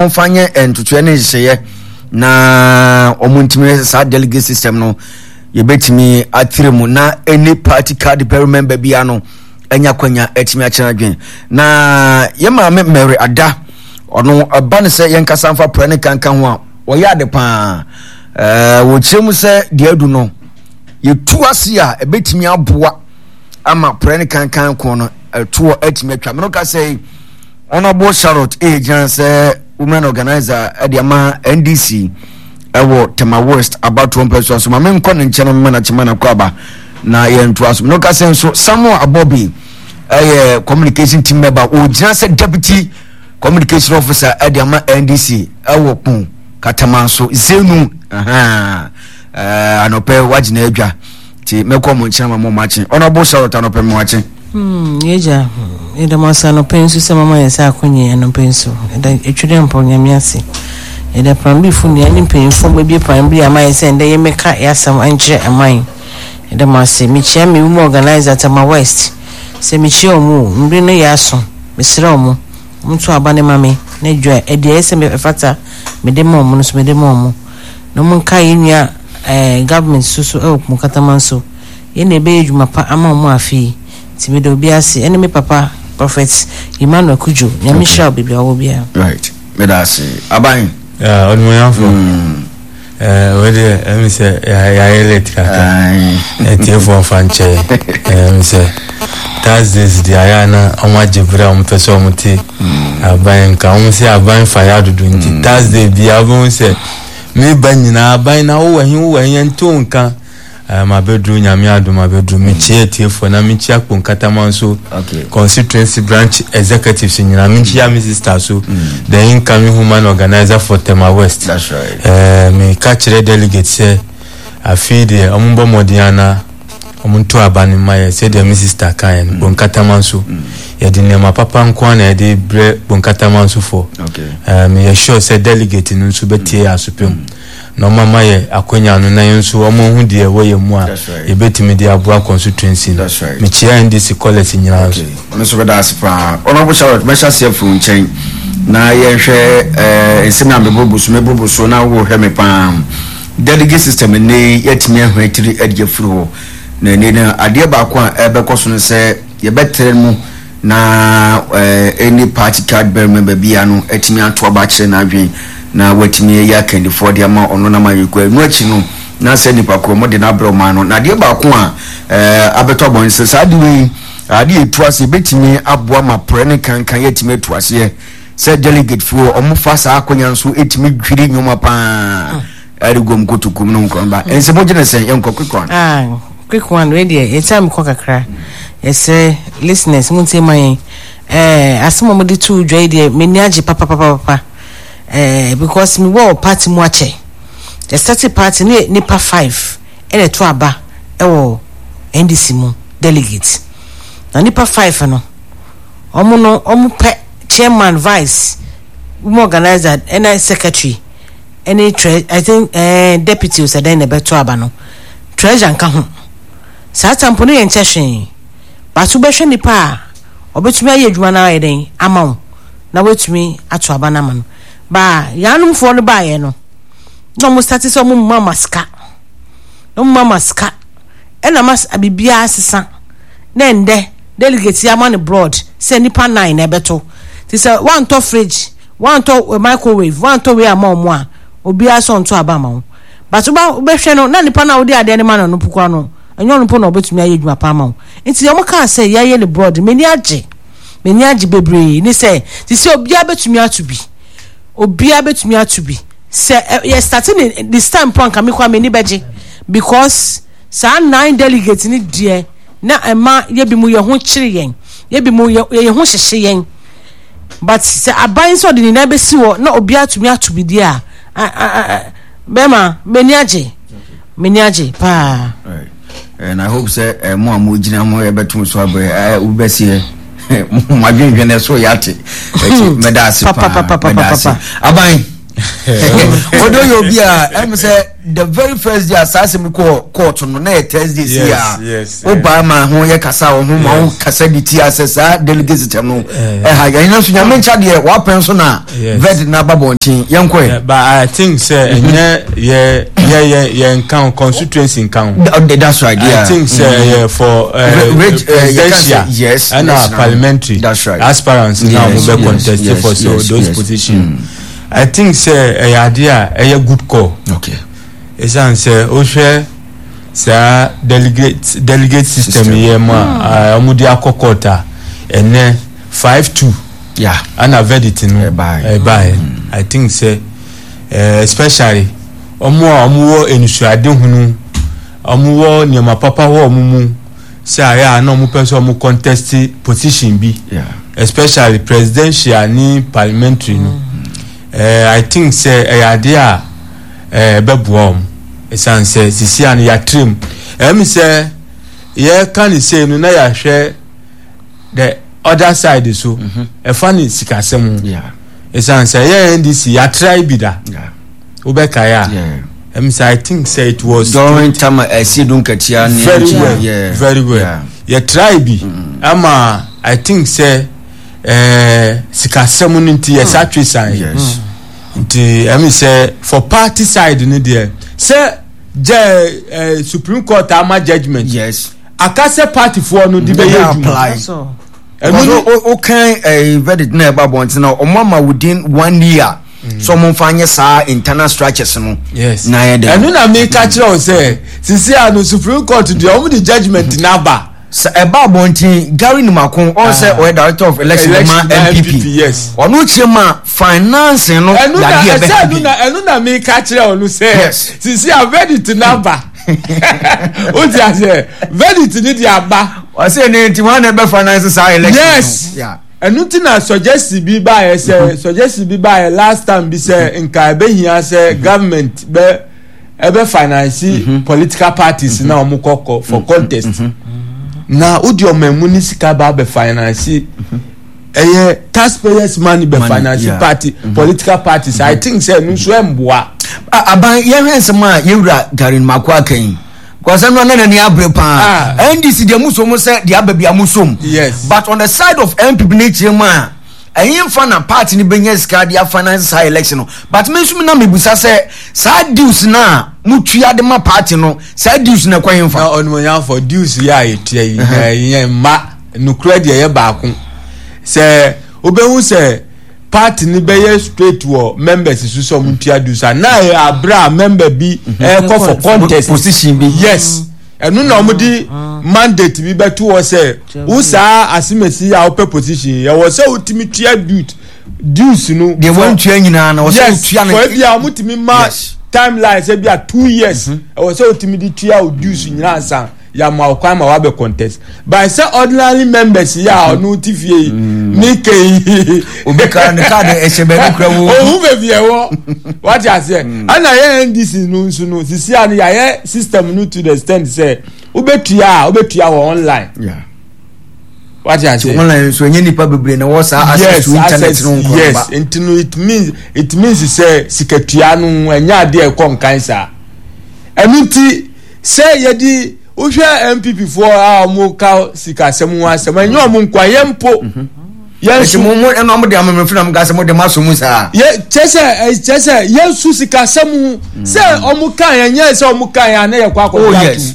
Wɔmfa nyɛ ntotoeɛ ne nhyehyɛeɛ na wɔntumi saa delegate system no yɛbɛtumi atire mu na any party card bearing member biara no anya kwanya atumi akyerɛ adwene na yɛ maame Mary Ada ɔno ɛba no sɛ yɛnkasa mfa prɛ ne kanka ho a wɔyɛ ade paa ɛɛ wɔkyerɛ mu sɛ deɛ adu no yɛtu ase a ɛbɛtumi aboa ama prɛ ne kankan ko no ɛtoɔ atumi atwa mene ka sɛ Honourable Charlotte A. gyina sɛ women organizer de ama NDC ɛwɔ Tema West abatoɔ mpɛsoa so ma menkɔ ne nkyɛn mma no akyema no akɔ aba na yɛntoa so mene ka sɛ nso Samuel Abobi ɛyɛ communication team member ɔgyina sɛ deputy communication officer ɛde ama NDC ɛwɔ Kpong Katamanso Zenu anɔpɛ wagyina adwa Nti mɛkɔ mo nkyɛn ama mo makye. Honourable Charlotte anɔpɛ mo akye. Hmm, yɛgya, yɛda mo ase anɔpɛ nso sɛ mama yɛn sɛ akonye anɔpɛ nso. Yɛda etwere mpɔ nyame ase. Yɛda pranbifo nua ne mpanyinfoɔ mo abie pranbi ama yɛn sɛ ndɛ yɛmmɛka yɛasɛm nkyerɛ ɛman. Yɛda mo ase. Mekyia me women organizer Tema West. Sɛ mekyia ɔmo o, mmere no yɛ aso. Mesrɛ ɔmo, ɔmo nto aba no ma me na dwa ɛdeɛ ɛyɛ sɛ ɛfata mede ma ɔmo no nso mede ma ɔmo. Na ɔmo nkae yɛn nua eh, government so so ɛwɔ Kumokataman so. Yɛn na yɛbɛyɛ adwuma pa ama ɔmo afe yi. Nti meda obi ase ɛne me papa Prophet Emmanuel Kudjo. Nyame nhyira wo baabi a ɔwɔ biara. Right. Meda ase. Aban. Yeah, ɔnumonyamfo. Mm. Eh, wei deɛ ɛmi sɛ yɛayɛ late kakra. Atiefoɔ mfa nkyɛ. Ɛmi sɛ Thursdays deɛ ayɛ a na wɔn agye bere a wɔn pɛ sɛ wɔn te mm. aban nka wɔn sɛ aban fa yɛ adodo nti mm. Thursday biara wɔn sɛ meba nyinaa aban na wowɔ he wowɔ he yɛnte wo nka eh, mabɛduru nyame adom abɛduru mekyia atiefoɔ na mekyia kponkatama nso constituency branch executives nyinaa mekyia me sister so mm. the incoming human organizer for Tema West right. eh, meka kyerɛ delegate sɛ afei deɛ ɔmobɔ mmɔden ana ɔmonto aba no mma yɛ sɛdeɛ me sister kaeɛ no mm. Bonkatama nso mm. yɛde nneɛma papa nko ara na yɛde brɛ Bonkatama nso foɔ eh, meyɛ sure sɛ delegate no nso bɛtie yɛ asopɛ mu na ɔma ma yɛ akwanya no na yɛn nso ɔmo ho deɛ ɛwɔ yɛn mu a yɛbɛtumi de aboa constituency no mekyia NDC college nyinaa nso ɔno nso bɛda ase paa Honorable Charlotte mɛhyɛ aseɛ afiri wo nkyɛn na yɛnhwɛ eh, nsɛm a meborobo so meborobo so na wohwɛ me paa Delegate system nnɛ yi yɛatumi ahua tiri de afiri hɔ. Na ɛnnɛ no adeɛ baako a ɛbɛkɔ so no sɛ yɛbɛtrɛ mu na any party card bearer member biara no atumi ato aba akyerɛ n'adwene na watumi ayi akandifoɔ de ama ɔno na mayɛkɔ. Ɛno akyi no na sɛ nipa korɔ mo de no abrɛ ɔman no. Na adeɛ baako a abɛtɔ abɔn sɛ saa adeɛ wei adeɛ ɛtu aseɛ bɛtumi aboa ma prɛ ne kankan yɛatumi atu aseɛ sɛ delegate foɔ ɔmo fa saa akonya nso ɛtumi dwiri nneɛma paa ɛde gom kotoku mu no nkɔ ba ɛnsɛ mo gyina sɛn yɛnkɔ quick one. Ah, quick one wei deɛ yɛkyɛ mekɔ kakra yɛsrɛ listeners mo ntie ma yɛn ɛɛ asɛm a wɔde to dwa yi deɛ m'ani agye papapapapa ɛɛ because mewɔ party mu akyɛ yɛsɛte party ne nipa five ɛna ɛto aba ɛwɔ NDC mu delegate na nipa five no wɔn no wɔn pɛ chairman vice women organizer ɛna secretary ɛne tre i think ɛɛ eh, deputy osɛ dɛn na ɛbɛto aba no treasure nka ho saa tampo no yɛ nkyɛ hwee bato bɛhwɛ nipa a ɔbɛtumi ayɛ adwuma no ayɛ dɛn ama wo na watumi ato aba no ama no baa yanomfoɔ no baayɛ no na wɔn start sɛ wɔn mma ma sika na wɔn mma ma sika ɛna ma biribiara sesa na ɛndɛ delegate yi ama no broad sɛ nipa nine na ɛbɛto te sɛ wantɔ fridge wantɔ eh, microwave wantɔ wei ama ɔmo a obiara sɛ ɔnto aba ama wo but woba wobɛhwɛ no na nipa no a wode adeɛ no ma no no pokora no ɛnyɛ ɔno mpo na ɔbɛtumi ayɛ adwuma pa ama wo nti ɔmo kaa sɛ yɛayɛ no broad m'ani agye m'ani agye bebree ne sɛ te sɛ obiara bɛtumi ato bi obiara bɛtumi ato bi sɛ yɛ start ne this time po anka me kɔ a m'ani bɛgye because saa nine delegate ne deɛ na ɛma yɛ bi mu yɛ ho kyere yɛn yɛ bi mu yɛ yɛn ho hyehye yɛn but sɛ aban sɛ ɔde ne nan bɛsi hɔ na obiara tumi ato bi deɛ a bɛrima m'ani agye m'ani agye paa. And I hope sɛ eh, mo a mo gyina mo yɛbɛto so abrɛ eh, wobɛseɛ mo adwendwene so yɛate ɛti mɛda ase paa mɛda ase aban. Odo yɛ obi a ɛmu sɛ the very first day a saa asɛm kɔ court no na yɛ Thursday si a o ba ma ho yɛ kasa wɔ ho ma ho kasa di ti asɛ saa delegate system no ɛha yɛn nso nyame nkyɛ deɛ wapɛn so na verdict na aba bɔnten yɛn kɔ yɛ. But I think sɛ ɛnyɛ yɛ yɛ yɛ yɛ nka ho constituency nka ho. That's right. Yeah. I think sɛ ɛyɛ for presidential yes ɛna parliamentary that's right aspirants na wɔn bɛ contest for so those positions. I think sɛ ɛyɛ adeɛ a ɛyɛ good call. Okay. Esan sɛ wohwɛ saa delegate delegate system yɛ mu a wɔn de akɔ court a ɛnɛ 5-2. Yeah. Ɛna verdict no ɛbaeɛ. I think sɛ especially wɔn a wɔwɔ enusuadehunu wɔn wɔ nneɛma papa wɔ wɔn mu sɛ ayɛ a na wɔn pɛ sɛ wɔn contest position bi. Yeah. Especially presidential ne parliamentary no. I think sɛ ɛyɛ adeɛ a ɛbɛboa wɔn ɛsiane sɛ sisi a no yɛatrɛ mu ɛmi sɛ yɛka ne sei no na yɛahwɛ the other side so ɛfa ne sikasɛm ho ɛsiane sɛ yɛ NDC yɛatra bi da wobɛkae a ɛmi sɛ I think sɛ it was during time ɛsi dun katia ne very well very well yɛtra bi ama I think sɛ sikasɛm no nti yɛsa twe san nti ɛmi sɛ for party side no deɛ sɛ jɛ Supreme Court ama judgement yes aka sɛ party foɔ no de bɛyɛ adwuma ɛno no o kan verdict na ɛba abɔnten na ɔmo ama within 1 year so ɔmo nfa nyɛ saa internal structures no yes na yɛ dɛ ɛno na mi ka kyerɛ o sɛ sisi a no Supreme Court deɛ ɔmo de judgement n'aba sɛ ɛba abɔnten Gary Numako ɔn sɛ ɔyɛ director of election ma NPP yes ɔno kyerɛ ma finance no yadeɛ ɛbɛ ɛno na ɛno na mi ka kyerɛ ɔno sɛ sisi a verdict n'aba o ti ase verdict ni di aba. ɔsɛ ne nti wọn na ɛbɛ finance saa election. Yes, ɛnu ti na suggestion bi ba yɛ sɛ suggestion bi ba yɛ last time bi sɛ nka ɛbɛ hia sɛ government bɛ ɛbɛ finance political parties na wɔn kɔ for contest na o di ɔmo ɛmu ni sika ba bɛ finance ɛyɛ taxpayers money bɛ finance party political parties. I think sɛ ɛnu nso ɛmboa. Aban yɛhwɛ nsɛm a yɛwura Gary Mako aka yi kɔsɛm no na n'ani abere paa. NDC deɛ musom sɛ deɛ aba bia musom. Yes. But on the side of NPP ne kyerɛ mu a ɛyɛ nfa na party no bɛnya sika de afinance saa election no but me nso na mebusa sɛ saa dues na mutua de ma party no saa dues na ɛkɔ yɛn fa. Na ɔnumonyamfo dues yɛ a yɛtua yi yɛn mma nukura deɛ yɛ baako sɛ wobɛhu sɛ party ni bɛyɛ straight wɔ members so sɛ ɔmo ntua dues a na yɛ abere a member bi ɛkɔ for contest position bi. Yes, ɛno na ɔmo de mandate bi bɛto hɔ sɛ wo saa asemesi a wopɛ position ɛwɔ sɛ wotumi tua dues no. Deɛ wɔntua nyinaa na wɔsɛ wotua no. Yes, for ebi a ɔmo tumi ma timeline sɛ bi a 2 years ɛwɔ sɛ wotumi de tua o dues nyinaa nsa yàmà ɔkwan ma wabɛ contest by sɛ ordinary members yi a ɔno ti fie yi ne ke yi. Obi ka ne kaadi ɛhyɛ baabi kura wo. Ohun baabi ɛwɔ wate aseɛ ɛna yɛ NDC no nso no sisi a no yɛayɛ system no to the extent sɛ wobɛtua a wobɛtua wɔ online. Wate aseɛ online nso enye nipa bebree na wɔ saa access to internet no nkɔ. Yes, nti no it means sɛ sikatua no ɛnyɛ adeɛ ɛkɔ nkan saa ɛno nti sɛ yɛde wohwɛ NPP foɔ a wɔn ka sikasɛm ho asɛm ɛnyɛ wɔn nkoa yɛn mpo yɛn nso mo mo ɛna wɔn de amammerɛ na mo ka sɛ mo de mo aso mu saa. Yɛ kyɛ sɛ kyɛ sɛ yɛn nso sikasɛm ho sɛ wɔn ka yɛn nyɛ sɛ wɔn ka yɛn ana yɛ kɔ akɔ Oh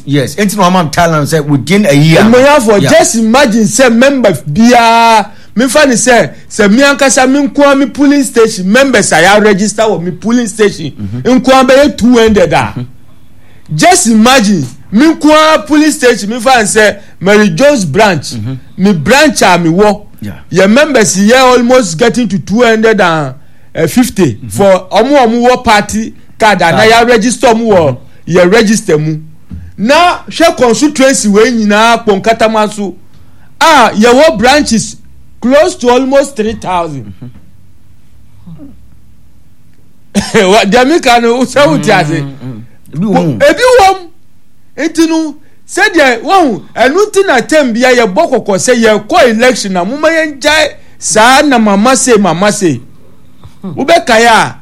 yes, nti na wɔn ama Thailand sɛ within a year. Mmonyafo, just imagine sɛ member biara mefa ne sɛ mi ankasa mi nkoa mi polling station members a yɛ register wɔ mi polling station nkoa bɛyɛ 200 a. Just imagine mi nkoa polling station mi fa sɛ Mary Jones branch mi branch a mi wɔ yɛ members yɛ almost getting to 250 for ɔmo a ɔmo wɔ party card ana yɛ register ɔmo wɔ yɛ register mu na hwɛ constituency wei nyinaa kpɔnkatama so a yɛwɔ branches close to almost 3,000. Deɛ meka no sɛ wote ase ebi wɔ mu. Ebi wɔ mu nti no sɛdeɛ wɔn ɛno nti na tɛm bia yɛbɔ kɔkɔ sɛ yɛkɔ election na moma yɛn gyae saa na mama se mama se wobɛkae a.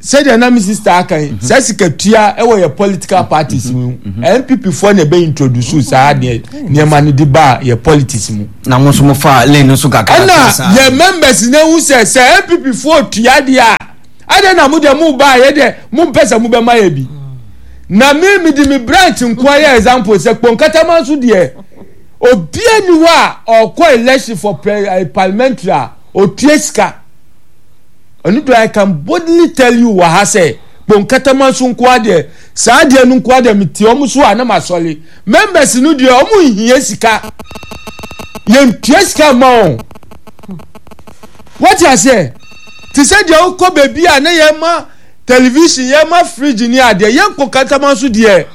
Sɛdeɛ na me sister aka yi, saa sikatua wɔ yɛ political parties mu. NPP foɔ na ɛbɛ introduce saa deɛ nneɛma no de ba yɛ politics mu. Na mo nso mo fa lane no so kakra. Ɛna yɛ members na ehu sɛ sɛ NPP foɔ tua deɛ a, adɛn na mo deɛ mo ba yɛ deɛ mo mpɛ sɛ mo bɛ ma yɛ bi. Na me me de me branch nkoa yɛ example sɛ Kponkatama nso deɛ obiara ni hɔ a ɔkɔ election for pre, eh, parliamentary a otua sika. Ɛno deɛ I can boldly tell you wɔ ha sɛ Bonkatama nso nkoa deɛ saa deɛ no nkoa deɛ mete wɔn so a na masɔre. Members no deɛ wɔn nhia sika. Yɛntua sika mma wɔn. Wɔte aseɛ? Te sɛ deɛ wokɔ baabi a na yɛma television, yɛma fridge ne adeɛ. Yɛn Bonkatama nso deɛ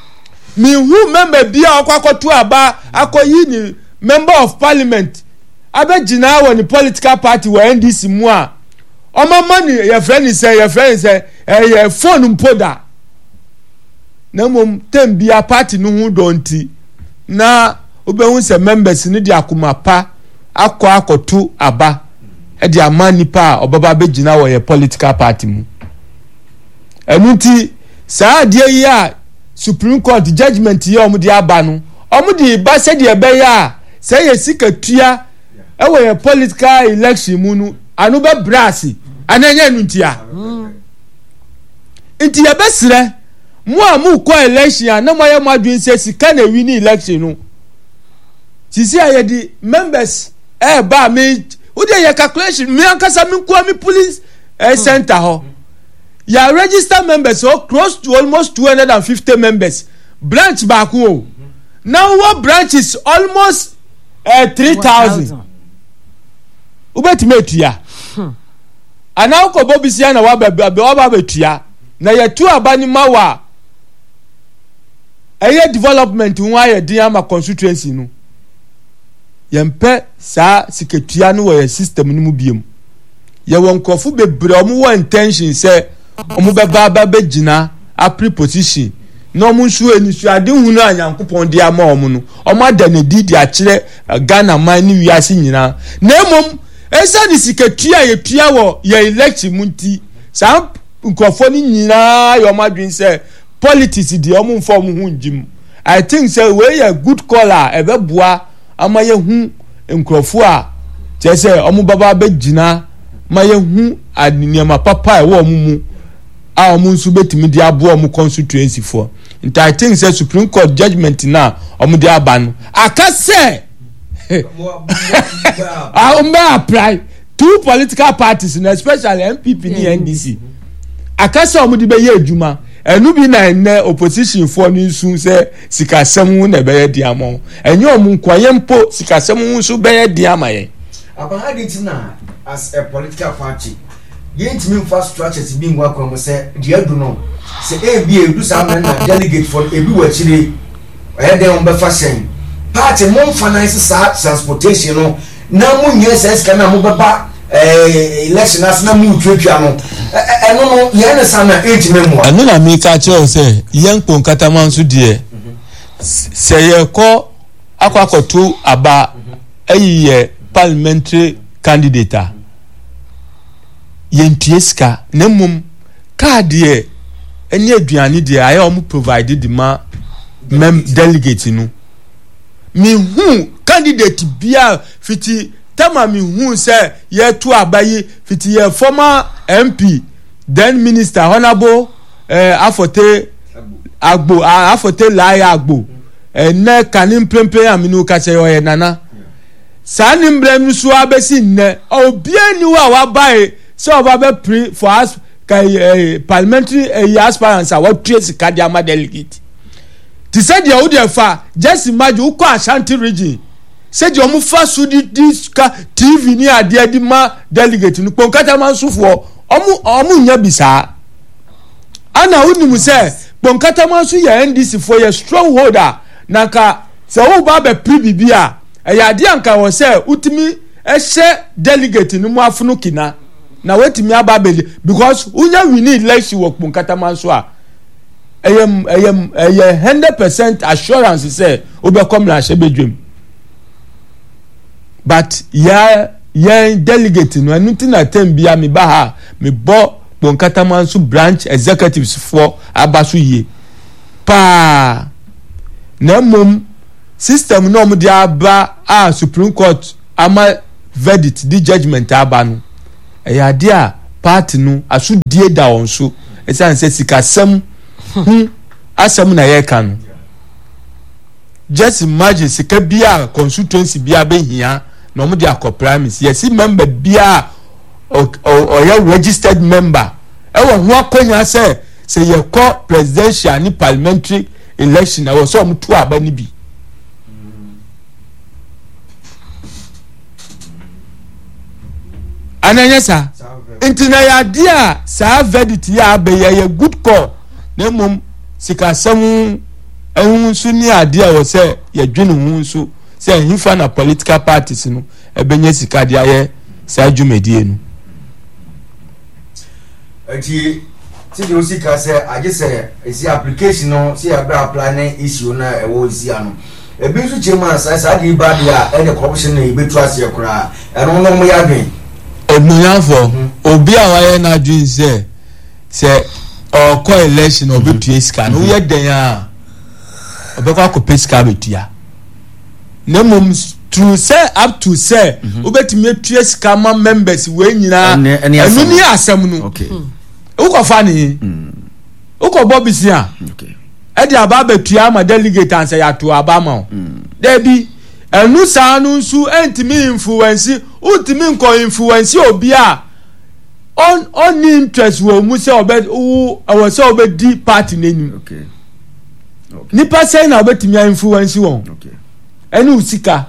mehu member bi a ɔkɔ akɔto aba akɔyi ne member of parliament abɛgyina wɔ ne political party wɔ NDC mu a ɔmama ne yɛfrɛ ne sɛ yɛfrɛ ne sɛ ɛyɛ phone mpo da na mmom tɛm bia party no ho dɔ nti na wobɛhu sɛ members no de akoma pa akɔ akɔto aba de ama nipa a ɔbɛba abɛgyina wɔ yɛ political party mu. Ɛno nti saa adeɛ yi a Supreme Court judgement yi a wɔde aba no wɔde ba sɛdeɛ ɛbɛyɛ a sɛ yɛ sika tua ɛwɔ yɛ political election mu no ano bɛbrɛ ase anaa ɛnyɛ ɛno ntia. Nti yɛbɛsrɛ mo a mokɔ election a na moayɛ mo adwene sɛ sika na ɛwi ne election no. Sisi a yɛde members ɛɛba a me wode yɛ calculation me ankasa me nkoa me police eh, center hɔ. Yɛ register members hɔ close to almost 250 members branch baako o. Na wowɔ branches almost eh, 3000. Wobɛtumi atua. Anaa wokɔbɔ bisia na waba waba abɛtua. Na yɛtu aba no ma wo a ɛyɛ development ho ayɛ den ama constituency no. Yɛmpɛ saa sikatua no wɔ yɛn system no mu biom. Yɛwɔ nkurɔfo bebree a wɔwɔ intention sɛ wɔbɛba aba bɛgyina apere position na wɔn nso anisoadehunu a Nyankopɔn de ama wɔn no, wɔada no adi de akyerɛ Ghana man ne wiase nyinaa. Na mmom, ɛsiane sikatua a yɛtua wɔ yɛn election mu nti, saa nkurɔfoɔ no nyinaa yɛ wɔn adwene sɛ politics deɛ wɔn mfa wɔn ho ngye mu. I think sɛ wei yɛ good call a ɛbɛboa ama yɛhu nkurɔfoɔ a kyerɛ sɛ wɔn bɛba abɛgyina ma yɛhu nneɛma papa a ɛwɔ wɔn mu a wɔn nso bɛtumi de aboa wɔn constituency foɔ. Nti I think sɛ Supreme Court judgement no a wɔn de aba no aka sɛ wɔn bɛ apply two political parties no especially NPP ne NDC aka sɛ wɔn de bɛyɛ adwuma. Ɛno bi na ɛnnɛ opposition foɔ no nsu sɛ sikasɛm ho na ɛbɛyɛ den ama wɔn. Ɛnyɛ wɔn nko a, yɛn mpo sikasɛm ho nso bɛyɛ den ama yɛn. Aba ha de ti na as a political party yɛntumi nfa structures bi ngu akwan mu sɛ deɛ adu no sɛ ebi edu saa mmerɛ na delegate foɔ no ebi wɔ akyire ɛyɛ dɛn wɔn bɛfa hyɛn party mo nfa nan sɛ saa transportation no na mo nyɛ saa sika no a mobɛba eh, election ase na moretuatua no ɛno no yɛn ne sa na ɛntumi mmoa. Ɛno na meka kyerɛ wo sɛ yɛn Kponkatama nso deɛ sɛ yɛkɔ akɔ akɔto aba ayi yɛ parliamentary candidate a yɛntua sika na mmom kaa deɛ ɛne aduane deɛ ayɛ wɔn provide de ma mem delegate no. Mehuu candidate biara fiti tam a mehuu sɛ yɛreto aba yi fiti yɛ former MP then minister honourable eh, Afote Agbo Afote Lai Agbo ɛnɛ kane mprempren a mene wo kasa yi ɔyɛ nana saa ne mmerɛ no so abɛsi nnɛ obiara ni hɔ a wabae sɛ ɔba bɛpere for as ka eh, parliamentary eh, aspirants a watua sika de ama delegate. Te sɛ deɛ wo deɛ fa just imagine wokɔ Ashanti region sɛdeɛ wɔn fa so de di sika TV ne adeɛ de ma delegate no kponkatama nsofoɔ wɔn wɔn nya bi saa ana wonim sɛ kponkatama nso yɛ NDC foɔ yɛ stronghold a na nka sɛ woba abɛpere biribi a ɛyɛ adeɛ a nka wɔ sɛ wotumi ɛhyɛ delegate no mu afono kina na watumi aba abɛdi because wonya wini election wɔ kponkatama nso a ɛyɛ ɛyɛ ɛyɛ 100% assurance sɛ wobɛkɔ mmarahyɛbadwam but yɛ yɛn delegate no ɛno ti na tɛm bia meba ha mebɔ. Kponkatamanso branch executives foɔ aba so yie paa na mmom system no a wɔde aba a Supreme Court ama verdict de judgement aba no ɛyɛ adeɛ a party no asodie da wɔn so ɛsiane sɛ sikasɛm ho asɛm na yɛreka no. Just imagine sika bi a constituency bi a bɛhia na wɔn de akɔ primaries yɛsi member bi a ɔyɛ registered member ɛwɔ ho akɔnya sɛ sɛ yɛkɔ presidential ne parliamentary election ɛwɔ sɛ wɔn to aba no bi. Ana ɛnyɛ saa? Nti na yɛ adeɛ a saa verdict yi a abɛyɛ yɛ good call na mmom sikasɛm ɛho nso ne adeɛ a wɔ sɛ yɛdwene ho nso sɛ ɛhefa na political parties no ɛbɛnya sika de ayɛ saa dwumadie no. Nti sɛdeɛ wosi ka sɛ agye sɛ ɛsi application no sɛ yɛbrɛ apply ne issue no a ɛwɔ ɛsi ano ebi nso kyerɛ mu a sɛ saa deɛ ba deɛ a ɛne corruption na yɛbɛtu aseɛ koraa ɛno no ɔmo yɛ adwen. Onuafoɔ mhm. obi a wayɛ n'adwen sɛ sɛ ɔkɔ election a ɔbɛtua sika no woyɛ dɛn a ɔbɛkɔ akɔpɛ sika abɛtua na mmom through sɛ up to sɛ mhm. wobɛtumi atua sika ma members wei nyinaa ɛno ne asɛm no wokɔfa ne he mm. wokɔbɔ bisia ɛde aba abɛtua ama delegate ansa yɛato aba ama wo mm. daabi ɛno saa no nso ɛntumi influence wontumi nkɔ influence obi a ɔnni interest wɔ mu sɛ ɔbɛ wo ɛwɔ sɛ ɔbɛdi party n'anim nipa sɛn na ɔbɛtumi a influence wɔn ɛne wo sika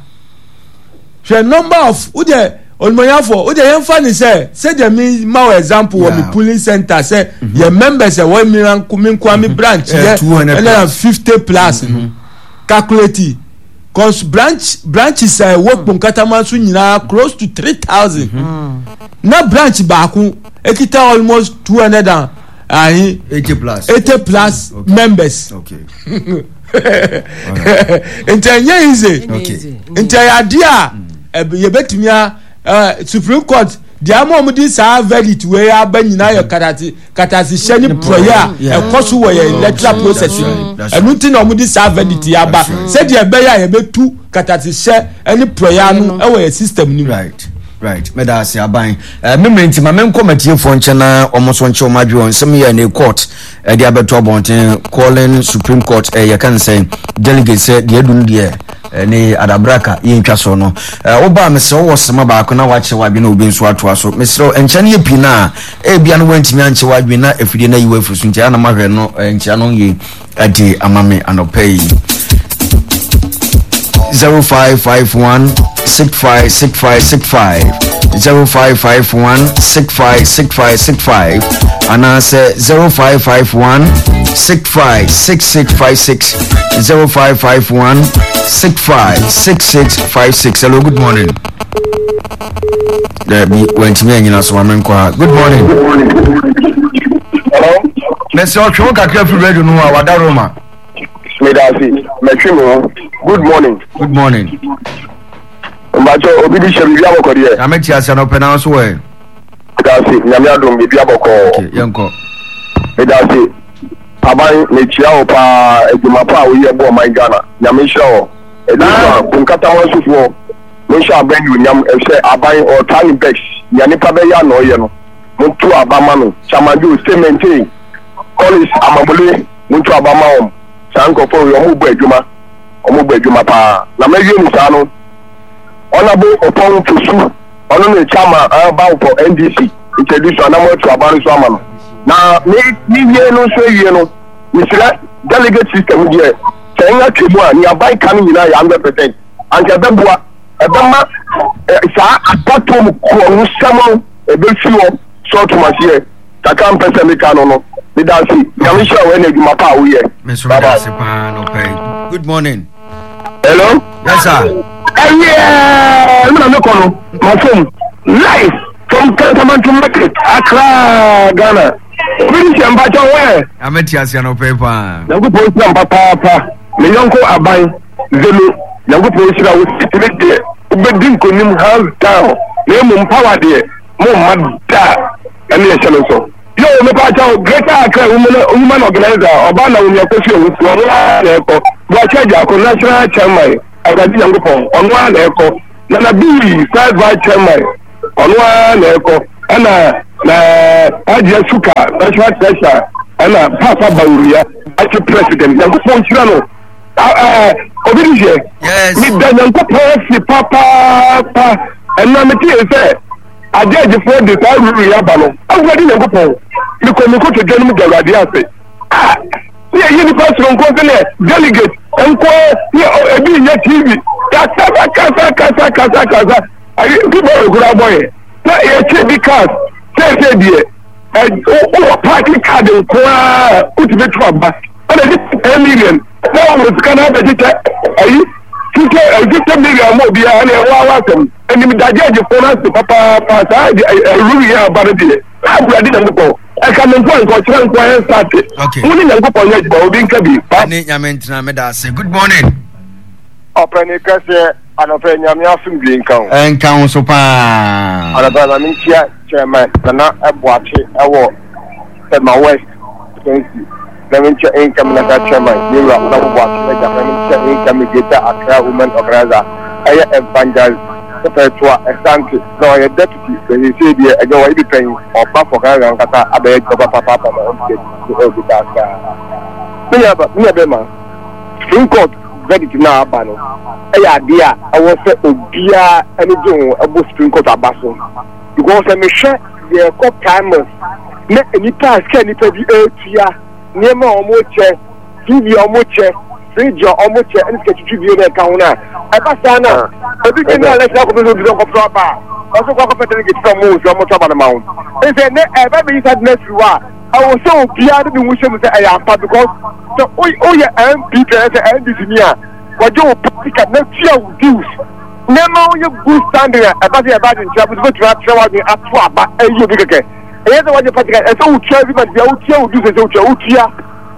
hwɛ number of wo deɛ onimonyafo wo deɛ yɛnfa ne sɛ sɛdeɛ mi ma wɔ example wɔ mi polling center sɛ mhm. yɛ members ɛwɔ mi nko mi mhm. branch yɛ 150 plus no mhm. calculate. Cause branch branches a ɛwɔ Kponkatama so nyinaa close to 3000. Na branch baako ekita almost 200 and ahe 80 plus 80 plus okay. members. Okay. Nti ɛnyɛ easy. Okay. Nti ɛyɛ adeɛ a yɛbɛtumi a Supreme Court deɛ ama wɔn de saa verdict wei aba nyinaa yɛ karate katasehyɛ ne porɔeɛ a ɛkɔ so wɔ yɛn electoral process mu ɛno nti na wɔde saa verdict yi aba sɛdeɛ ɛbɛyɛ a yɛbɛtu katasehyɛ ne porɔeɛ ano wɔ yɛn system no mu. Right right meda ase aban eh, memmerɛ nti ma menkɔ matiefoɔ nkyɛn na wɔn nso nkyɛ wɔn adwene wɔn nsɛm yɛ ne court ɛde abɛto abɔnten calling supreme court eh, yɛka ne sɛ delegate sɛ deɛ adu no deɛ eh, ne adabraka yɛntwa so no eh, wobaa mesrɛ wowɔ sema baako na wakyerɛ w'adwene obi nso atoa so mesrɛ nkyɛn no yɛ pii no a Ebia no woantumi ankyɛ w'adwene na afidie no ayi wo afiri so nti ana mahwɛ no eh, nkyea no yie adi ama me anɔpa yi. 0551 656565 0551 656565 anaasɛ 0551 656656 0551 656656 hello good morning Dabi, wantumi anyina so ma menkɔ ha. Good morning. Hello. Mɛsɛ ɔtwe wo kakra firi radio no ho a wada Roma. Medase, mɛtwe me ho. Good morning. Good morning. Mbakyɛ obi di hyɛ biribi abɔkɔ deɛ. Nyame te ase anɔpɛ na nso ɛ. Medase, nyame adom biribi abɔkɔ. Okay, yɛnkɔ. Medase, aban mekyia wo paa adwuma pa a woyɛ bɔ ɔman Ghana. Nyame nhyira wɔ. Ɛdi nso a, Bonkatama nsofoɔ. Monhyɛ aba anuonyam, efisɛ aban, ɔretaa ne bɛs, nea nipa bɛyɛ a na ɔyɛ no, monto aba ma no. Chairman Joe, stay maintain. Collins Amamule, monto aba ma wɔn. Saa nkurɔfoɔ wei, wɔrebɔ adwuma, wɔrebɔ adwuma paa. Na mawie no saa no, Honourable Oppong Fosu, ɔno ne chairman a bow for NDC, nti adu so a na moatu aba no nso ama no. Na me, mewie no nso awie no, mesrɛ, delegate system deɛ, sɛ ɛnya twam a, nea aban ka no nyinaa yɛ 100%. Anka ɛbɛboa, ɛbɛma saa abatoɔ mu korɔnosɛm no ɛbɛfi hɔ. So ɔtom aseɛ? Kakra mpɛ sɛ meka no no. Meda ase. Nyame nhyira wo ɛna adwuma pa a woyɛ. Me nso meda ase paa nɔpa yi. Good morning. Hello. Yes sir. Ɛyɛ ɛmu na mekɔ no mafom live from Kantamanto market Accra Ghana. Obi ni sɛ mpakyɛ wo ɛ. Amɛte ase anɔpa yi paa. Nyankopɔn nhyira mpa paapa. Me yɔnko aban. Zeno, Nyankopɔn nhyira wo titire deɛ wobɛdi nkonim hands down na mmom power deɛ momma da ɛne ɛhyɛ no nso. Yo! Mepakyɛw, Greater Accra Women Organizer, ɔbaa Naomi Akosua Owusu, ɔno ara na ɛkɔ. Boakye Agyarko, National Chairman, Awurade Nyankopɔn, ɔno ara na ɛkɔ. Nana Bii, First Vice Chairman, ɔno ara na ɛkɔ. Ɛna na Hajia Suka, National Treasurer, ɛna Papa Bawumia, Vice President. Nyankopɔn nhyira no. Obi ni hwɛ. Meda Nyankopɔn ase papaapa. Ɛna mete sɛ agyɛgyefoɔ de saa ruru yi aba no. Awurade Nyankopɔn, mekɔ me nkotodwe no mu da Awurade ase. Ah, ne yɛyi nipa soronko sɛ ne delegate nko ne ebi nyɛ TV. Kasa kasa kasa kasa kasa. Ayi bi bɔ ekura bɔ yɛ. Na yɛkyɛ bi cars sɛsɛ deɛ wowɔ party card nko ara wotumi to aba. Ɛna de 10 million na wɔwɔ sika no abɛkyekyɛ ayi 50 million ma obiara ne ɛwɔ awa asɛm. Ɛnim dagyɛgyefoɔ no ase papaapa saa ɛruru yɛ aba no deɛ. Awurade Nyankopɔn ɛka me nko nka ɔkyerɛ nko ayɛ nsate. Mo ne Nyankopɔn nyɛ adwuma obi nka bi. Ne Nyame ntena meda ase. Good morning. Ɔpɛni kɛseɛ anɔpɛ Nyame asomdwie nka wo. Ɛnka wo so paa. Anɔpɛ ma menkyia Chairman Nana Boakye ɛwɔ Tema West Constituency na menkyia incoming National Chairman Yewura Honourable Boakye Agya na menkyia incoming Greater Accra Women Organizer ɛyɛ Evangelist Perpetua Asante na ɔyɛ Deputy na seesei deɛ ɛnyɛ wɔyɛ bi pɛn ɔba for Ghana ankasa abɛyɛ adwuma papaapa ma ɔmfiri adi ɛwɔ Greater Accra. Me nua bɛma Supreme Court verdict no a aba no yɛ adeɛ a ɛwɔ sɛ obiara ani gye ho ɛbɔ Supreme Court aba so because sɛ mehwɛ yɛkɔ primaries na nnipa a sika nnipa bi ɛretua nneɛma a wɔkyɛ TV a wɔkyɛ fridge a wɔkyɛ ɛne sika twitwi bi na ɛka ho no a ɛba saa no a ebi gye ne election akɔpɛ sɛ obi sɛ ɔkɔpɛ aba a ɔsɛ kɔ akɔpɛ delegate sɛ ɔmo sɛ ɔmo tɔ aba no ma wo ɛsɛ ne ɛba bɛyi saa de no afiri hɔ a ɛwɔ sɛ obiara de ne ho hyɛ mu sɛ ɛyɛ ampa because sɛ woyɛ NPP anaasɛ NDC ni a wɔgye wo party card na tua wo dues nneɛma woyɛ good standing a ɛba sɛ yɛba adwenkyerɛ abɛsɛ wobɛtumi atrɛ w'adwene ato aba ayi obi kɛkɛ ɛyɛ sɛ wɔgye party card ɛsɛ wotua every month bia wotua wo dues ɛsɛ wotua wotua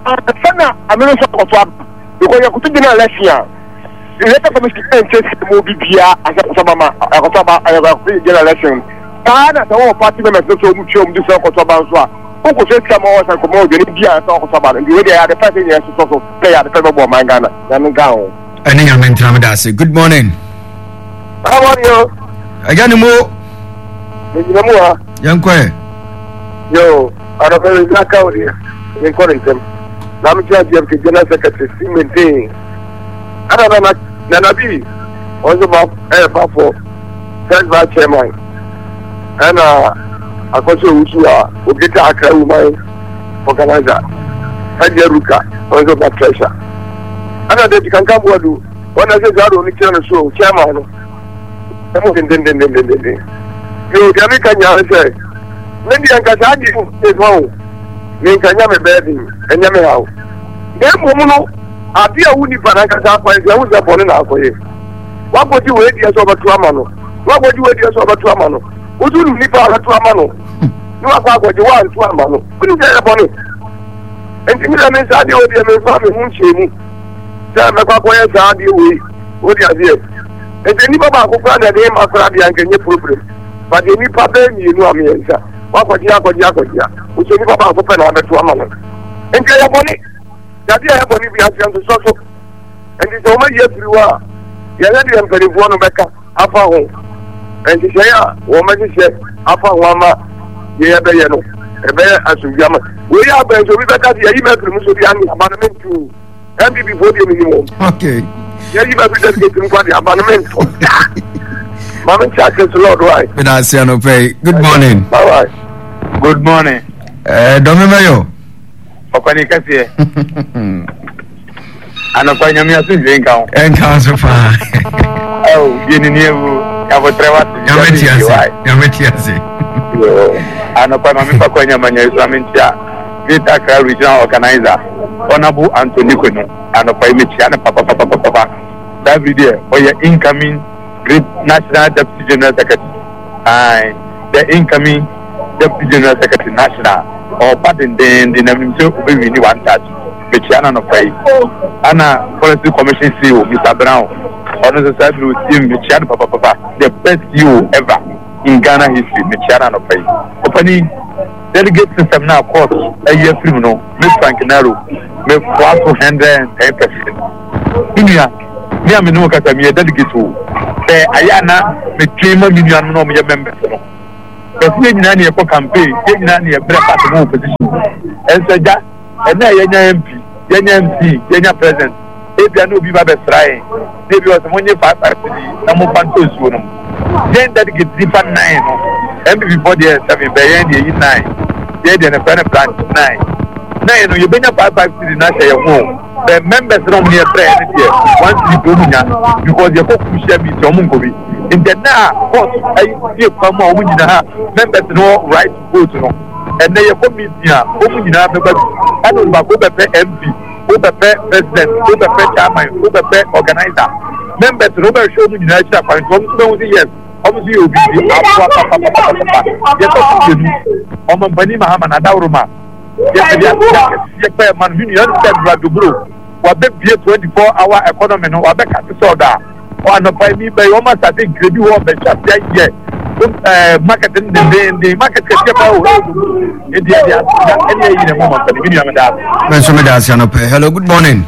ansa na amene nso akɔto aba because yɛkoto gyina election a electoral commission ɛnkyɛ sika mu obi biara asɛ akɔto aba ma akɔto aba akɔto gyina election saa na sɛ wɔwɔ party members no sɛ wɔn tua wɔn dues akɔto aba nso a wokɔsɛ sika ma wɔsan kɔma odwane bi a sɛ ɔkɔsɔ aba no nti wei deɛ ɛyɛ ade pa sɛ nyɛ sosɔ so sɛ ɛyɛ ade pa bɛbɔ ɔman Ghana nyame nka ho. Ɛne nyame ntena meda ase. Good morning. How are you? Agya ne mo. Megyina mu ha. Yɛnkɔ ɛ. Yo, anɔpɛ me nsa ka wo deɛ menkɔ ne ntɛm. Na mekyerɛ GMK General Secretary si maintain. Ɛna nana nana bi wɔn nso ba ɛyɛ bafo first vice chairman. Ɛna Akɔso Owusu a Ogeta Accra Woman Organizer, Hajiya Ruka ɔno nso ba treasurer. Ɛna Dɛti Kankan Boadu wɔn na sɛ saa de ɔno kyerɛ no so chairman no ɛmu dendendendendenden. Yoo deɛ meka nyinaa ne sɛ me deɛ nka saa deɛ ɛfa o me nka nya me bɛɛ den ɛnyɛ me haw. Na mmom no adeɛ a wo nipa nankasa akwan sɛ ɛho sɛ bɔne na akɔyɛ. Wakɔgye wei deɛ sɛ ɔbɛto ama no wakɔgye wei deɛ sɛ ɔbɛto ama no wotu nim nipa a ɔbɛto ama no na wakɔ akɔgye wanto ama no wonim sɛ ɛyɛ bɔne nti me na me nsa adeɛ wei deɛ memfa me ho nhyɛ mu sɛ mɛkɔ akɔyɛ saa adeɛ wei wode aseɛ nti nnipa baako koraa na ɛde ma koraa deɛ anka nyɛ problem but deɛ nnipa bɛyɛ mmienu a mmiɛnsa wakɔgye akɔgye akɔgye a wosɛ nnipa baako pɛ na wabɛto ama no nti ɛyɛ bɔne yadeɛ a ɛyɛ bɔne bi aseɛ nsosɔ so nti sɛ wɔayi afiri hɔ a yɛhwɛ deɛ mpanimfoɔ no bɛka afa ho nhyehyɛe a wɔbɛhyehyɛ afa ho ama deɛ yɛbɛyɛ no ɛbɛyɛ asomdwe ama wei yɛ abɛn sɛ obi bɛka sɛ yɛyi mafiri mu so deɛ ane aba no mento NPP foɔ deɛ menim wɔn okay yɛyi mafiri delegate mu kwa deɛ aba no mento da ma mente ase so lord why meda ase anɔpɛ yi good morning bye bye good morning eh, dɔme mɛyɔ ɔkwani kɛseɛ Anɔpa nyame asomdwe nka ho. Ɛnka nso paa. Ɛwɔ bie ne ni ewu yabotrɛ wa se. Nyame ti ase. Nyame ti ase. Anɔpa maame fa kɔ nyama nya esua me ntia Greater Accra Regional Organizer Honorable Anthony Kwenu anɔpa yi mekyia no papapapapapa saa bere deɛ ɔyɛ incoming Great National Deputy General Secretary ae the incoming Deputy General Secretary National ɔba dendenden na menim sɛ ɔbɛwini one touch. Mekyia no anɔpa yi. Ana Forestry Commission CEO, Mister Brown, ɔno nso saa bere otie mu, mekyia no papapapa. The best CEO ever in Ghana history, mekyia no anɔpa yi. Ɔpanin, Delegate system no a court ayi afiri mu no, me Frank Naro, me foa so 110%. Me nua, me a me ne wo kasa, meyɛ delegate o. Sɛ ayɛ a na metwen ma me nuanom na wɔyɛ members no. Bɛsɛ yɛn nyinaa ne yɛkɔ campaign, yɛn nyinaa ne yɛbrɛ party mu opposition. Ɛnso agya, ɛnna a yɛnya MP, yɛnya MC, yɛnya president, ebia na obi ba bɛsra yɛn, na ebi wɔ sɛ monye 5 5 cedi na momfa ntɔ nsuo nom. Yɛn delegate nipa nine no, NPP foɔ deɛ yɛ seven, bɛyɛ yɛn deɛ yi nine, yɛn deɛ no frɛ no branch nine. Nine no yɛbɛnya 5 5 cedi no ahyɛ yɛn ho o, bɛ members no ɔmo ne yɛbrɛ yɛn no deɛ 1 cedi pɛ ɔmo nya because yɛkɔ crucial meeting ɔmo nkɔ bi. Nti ɛnɛ a court ayi sie kwan mu a ɔmo nyinaa members no wɔ right to vote no, ɛnɛ yɛkɔ meeting a ɔmo nyinaa bɛba bi. Ɛna onipa ko wobɛpɛ MP, wobɛpɛ president, wobɛpɛ chairman, wobɛpɛ organizer. Members no wobɛhwɛ ɔmo nyinaa akyiri akwan nti ɔmo nso bɛhu sɛ yes, ɔmo nso yɛ obi nti aboa papapapapapa. Yɛtɔ so mmienu, Ɔmampanin Mahama n'adaworoma yɛde aseda kɛseɛ pɛɛ ma no. Me nua ɛne sɛ Nura Doburo wabɛbie 24 hour economy no, wabɛka te sɛ ɔdɔ a Ɔ anɔpa yi mi bɛyɛ wɔn asase nkiri bi hɔ bɛhyɛ ase ayɛ ɛɛ market no dendenden market kɛseɛ paa o ɛwɔ dodo edi ɛde aseda ɛne ɛyi na ɛmu ma mpɛni mi nua mi da ase. Me nso meda ase anɔpa yi. Hello, good morning.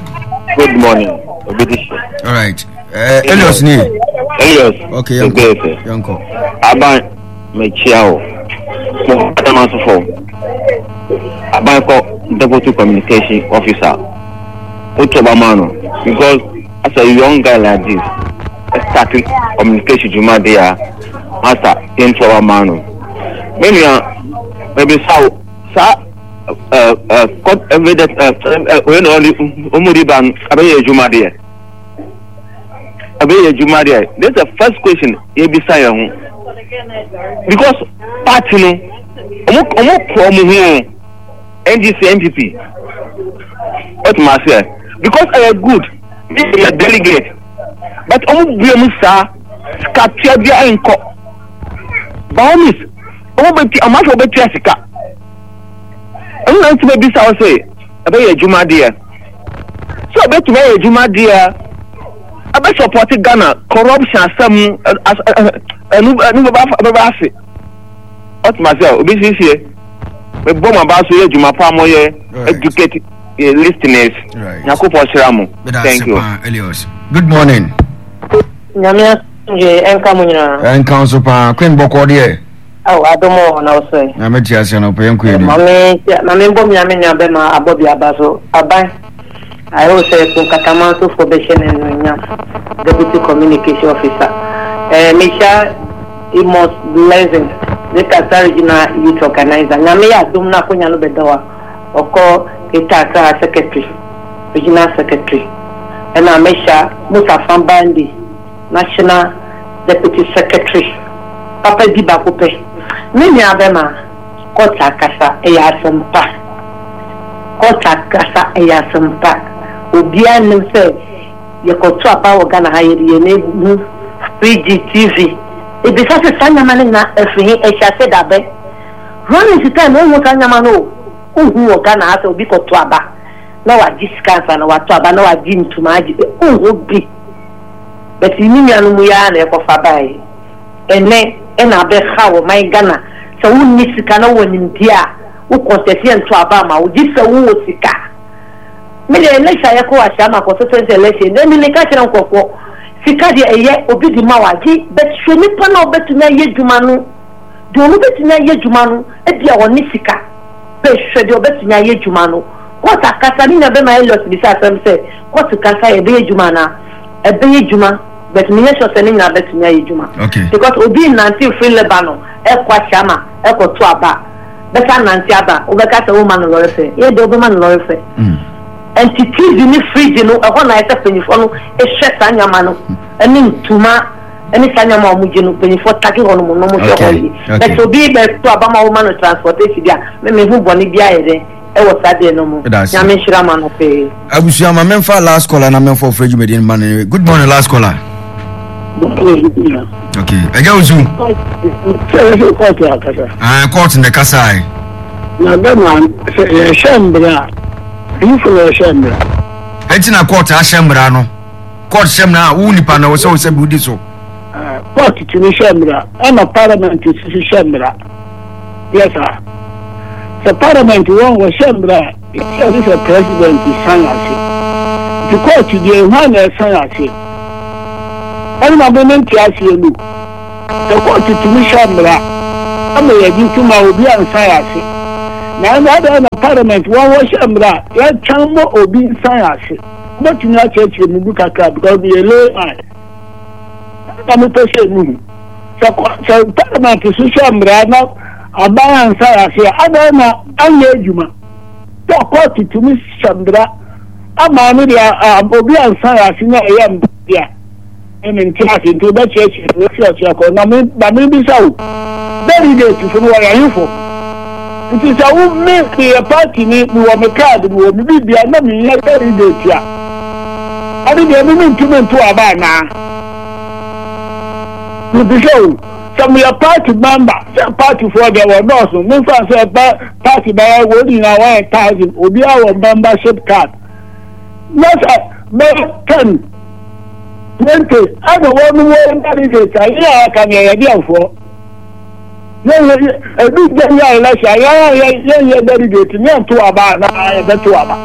Good morning. Obi di hyɛ. All right. Elios ni. Elios. Okay, yɛnkɔ. Yɛnkɔ. Aban mekyia o. Mo adama sofo. Aban kɔ deputy communication officer. Wotu ɔba ma no because as a young guy like this start communication dwuma de a masa yɛntu ɔba ma no. Me nua mebisa wo saa ɛɛ ɛɛ court evidence ɛɛ ɛɛ oyɛ na ɔde ɔmo de ba no abɛyɛ adwuma deɛ. Ɛbɛyɛ adwuma deɛ. This is the first question yɛbisa yɛn ho because party no ɔmo ɔmo kɔ ɔmo ho o. NDC NPP wote ma aseɛ because ɛyɛ good me yɛ delegate but ɔmo bue mu saa sika tua bia ɛnkɔ by all means ɔmo bɛ tua ɔmo afɔ bɛ tua sika ɛno na ntoma bisa wɔ sɛ ɛbɛyɛ adwuma deɛ sɛ ɔbɛtumi ayɛ adwuma deɛ ɛbɛ support Ghana corruption asɛm ɛnu ɛnu bɛba ase. Ɔte ma sɛ obi siesie mebɔ mo aba so yɛ adwuma pa mo yɛ educate eh, listeners. Nyankopɔn hyira mo. Thank you. Elios. Good morning. Nyame asomdwe ɛnka mo nyinaa. Ɛnka nso paa Queen bɔkɔ deɛ. Awo adom wɔ na wosɛ. Nyame te ase no pɛ nkɔ anim. Mame mame mbɔ me nyame nua bɛma abɔ bi aba so aban. Ayɛ wo sɛ so nkataman sofoɔ bɛhyɛ no anuonyam deputy communication officer. Eh mehyia Amos Blessing ne Kasa Regional Youth Organizer. Nyame yɛ adom na akonya no bɛda hɔ a, ɔkɔ Greater Accra Secretary, Regional Secretary. Ɛna Mesha Musa Bandi, National Deputy Secretary. Papa bi baako pɛ. Me nua bɛma, court akasa, ɛyɛ asɛm pa. Court akasa, ɛyɛ asɛm pa. Obiara nnim sɛ Yɛkɔto aba wɔ Ghana ha yɛde yɛn ani hu fridge, TV. Ebisa sɛ saa nneɛma no nyinaa ɛfiri he? Ɛhyɛ aseɛ da bɛn? Rawlings time wonhu saa nneɛma no o. Wonhu wɔ Ghana ha sɛ obi kɔto aba na wagye sika ansa na wato aba na wagye ntoma agye wonhu bi. But me nuanom yi ara na ɛkɔfa baeɛ. Ɛnnɛ ɛna abɛhaw ɔman Ghana sɛ wonni sika na wowɔ nimdeɛ a wo contest yɛnto aba mma wo gye sɛ wowɔ sika. Me deɛ election a yɛkɔ Ashaiman constituency election ɛmi meka kyerɛ nkurɔfoɔ sika deɛ ɛyɛ obi de ma wa gye but hwɛ nipa na ɔbɛtumi ayɛ adwuma no deɛ ɔno bɛtumi ayɛ adwuma no ebi a ɔne sika bɛ hwɛ deɛ ɔbɛtumi ayɛ adwuma no court akasa ne nua bɛma Elliot bisa asɛm sɛ court kasa yɛ ɛbɛyɛ adwuma anaa ɛbɛyɛ adwuma but menyɛ sure sɛ ne nyinaa bɛtumi ayɛ adwuma because obi nnante firi Lebanon ɛkɔ Ashaiman ɛkɔto aba. bɛsan nante aba wobɛka sɛ woma no lɔre fɛ yɛ deɛ wobɛma no lɔre fɛ nti TV ne fridge no ɛhɔ na ayɛ sɛ mpanyinfoɔ no hwɛ saa nneɛma no ɛne ntoma ɛne saa nneɛma a wɔgye no mpanyinfoɔ take hɔ nom na wɔhwɛ hɔ yie bɛtɛ obi bɛto aba ma woma no transportation bi a mɛmɛ hu bɔne bi ayɛ dɛ ɛwɔ saa deɛ no mu Nyame nhyira ma no pee. Abusua ma memfa last caller na memfa ɔfrɛ dwumadie no ma no. Good morning last caller. Okay, ɛgya wo su. Kɔɔto akasa. Ah, kɔɔto na ɛkasa ɛ. Na bɛma sɛ yɛhyɛ mbra a, ɛyifo na yɛhyɛ mbra. Ɛnti na kɔɔto ahyɛ mbra no. Kɔɔto hyɛ mbra a wo nipa na wɔsɛ wo sɛ bi wodi so. Kɔɔto tumi hyɛ mbra ɛna parliament sisi hyɛ mbra. Yɛ saa. Sɛ parliament wɔn wɔhyɛ mbra a, ɛsɛ sɛ president san ase. Nti court deɛ hwan na ɛsan ase? Ɛno na me mente aseɛ no. Sɛ court tumi hyɛ mmara ama yɛgye tom a obi ansan ase. Na ɛnde adɛn na parliament wɔn wɔhyɛ mmara a yɛtwɛn ma obi nsan ase? Wobɛtumi akyerɛkyerɛ mu bi kakra because meyɛ layman. Ɛno na mepɛ sɛ mehu. Sɛ sɛ parliament so hyɛ mmara na aban ansan ase a adɛn na anyɛ adwuma? Sɛ court tumi hyɛ mmara ama no deɛ obi ansan ase na ɛyɛ mmara deɛ a, me mente ase nti wobɛkyerɛkyerɛ me wofi ɔkyerɛ kɔ na me na mebisa wo delegate fo no wɔyɛ ahefo nti sɛ wo me meyɛ party ni mewɔ me card mewɔ me biribia na meyɛ delegate a ɛne deɛ me mentumi nto aba anaa mebisa wo sɛ meyɛ party member sɛ party foɔ deɛ wɔdɔɔso memfa sɛ party bɛyɛ wɔn nyinaa wɔyɛ thousand obiara wɔ membership card na sɛ bɛyɛ ten 20 ɛna wɔn wɔn delegate a yɛn a aka no yɛyɛ deɛfoɔ yɛn ebi gya yɛ election yɛn a yɛn yɛ delegate ne yɛn to aba anaa yɛbɛto aba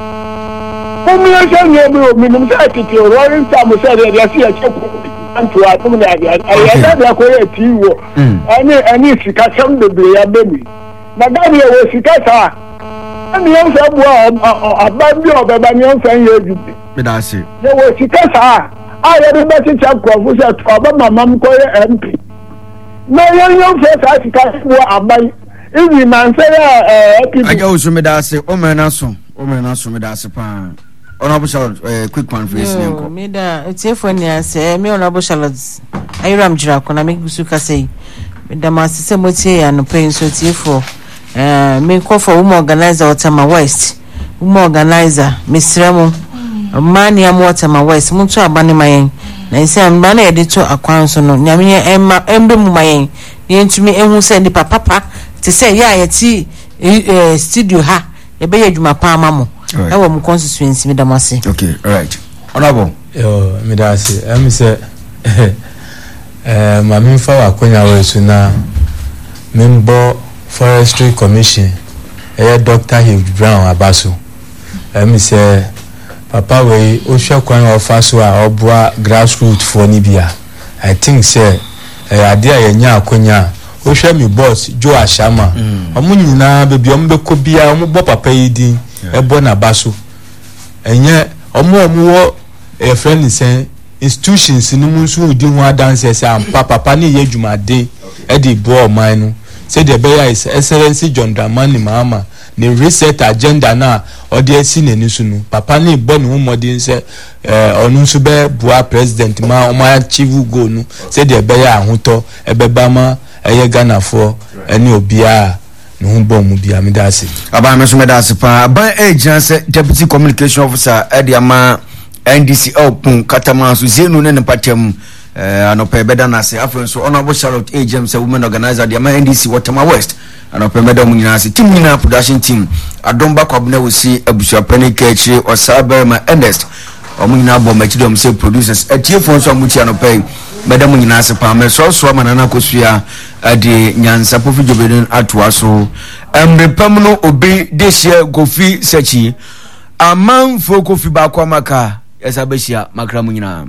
wɔn yɛn sɛ nneɛma bi wɔ minimum sɛ tete rolling star mo sɛ deɛ deɛ si yɛkyɛ ko nto anom ne adeɛ ɛyɛ dɛ deɛ kɔ yɛ tii wɔ ɛne ɛne sikasɛm bebree abɛ mu na Ghana yɛ wɔ sika saa ɛne yɛn fɛ boa aban bi a ɔbɛba ne yɛn fɛ nyɛ adwuma. Meda ase. Yɛwɔ sika saa a yɛde bɛkyekyɛ nkurɔfo sɛ to aba ma mam kɔyɛ MP. Na yɛn yɛmfa saa sika no boa aban. Even nansa yi a ɛɛ APP. Agya Owusu meda ase wo mmerɛ no aso wo mmerɛ no aso meda ase paa Honourable Charlotte eh, quick one for yɛsi Yoo, nkɔ. meda atiefoɔ nyinaa ase. Ɛyɛ me Honourable Charlotte Ayiram Gyirako na megu so kasa yi. Meda mo ase sɛ motie yɛn anɔpa yi nso atiefoɔ. Eh, mekɔ for women organizer wɔ Tema West. Women organizer, mesrɛ mo, mmaa nea mowɔ Tema West, monto aba no ma yɛn. Na ɛsɛ mmara no a yɛde to akwan so no, Nyame yɛ ɛmma ɛmbɛ mu ma yɛn, na yɛntumi ehu sɛ nipa papa te sɛ yɛ a yɛte eh, studio ha, yɛbɛyɛ adwuma pa ama mo ɛwɔ mo constituency. Meda mo ase. Okay, all right. Honorable. Yo, meda ase. Ɛmi sɛ eh, ma memfa w'akonya wɔ so na membɔ Forestry Commission ɛyɛ Doctor Hugh Brown aba so. Ɛyɛ me sɛ papa wei wohwɛ kwan a ɔfa so a ɔboa grassroot foɔ no bi a, I think sɛ ɛyɛ adeɛ a yɛnya akonya a, wohwɛ me boss Joe Ashama, wɔn nyinaa baabi a wɔbɛkɔ biara wɔbɔ papa yi din ɛbɔ n'aba so. Ɛnyɛ wɔn a wɔwɔ yɛfrɛ no sɛn institutions no mu nso redi ho adanseɛ sɛ ampa papa no reyɛ adwumaden de reboa ɔman no sɛdeɛ ɛbɛyɛ a His Excellency John Dramani Mahama ne reset agenda no a ɔde asi n'ani so no papa no rebɔ ne ho mmɔden sɛ ɔno nso bɛboa president ma wɔn achieve goal no sɛdeɛ ɛbɛyɛ a ahotɔ ɛbɛba ma ɛyɛ Ghanafoɔ ne obiara a ne ho bɔ mu bia meda ase. Aban me nso meda ase paa. Aban ɛgyina sɛ deputy communication officer ɛde ama NDC ɛwɔ Kataman so Zenu ne ne mpatam anɔpɛ ɛbɛda no ase. Afei nso Honourable Charlotte ɛgyina sɛ women organizer de ama NDC wɔ Tema West anɔpɛ mɛda mu nyinaa ase. Team nyinaa production team Adom Bakwabena Osi abusuapɛni Kɛkyire Ɔsaa Barima Ernest wɔn nyinaa bɔ m'akyi dɔm sɛ producers. Atiefoɔ nso a motie anɔpɛ yi mɛda mu nyinaa ase paa. Mɛsoasoa ma Nana Akosua de nyansapɔ fi dwobɛ no atoa so. Mmere pa mu no obi de hyɛ Kofi Sakyi. Amanfoɔ Kofi baako amaka yɛsa bɛhyia makra mu nyinaa.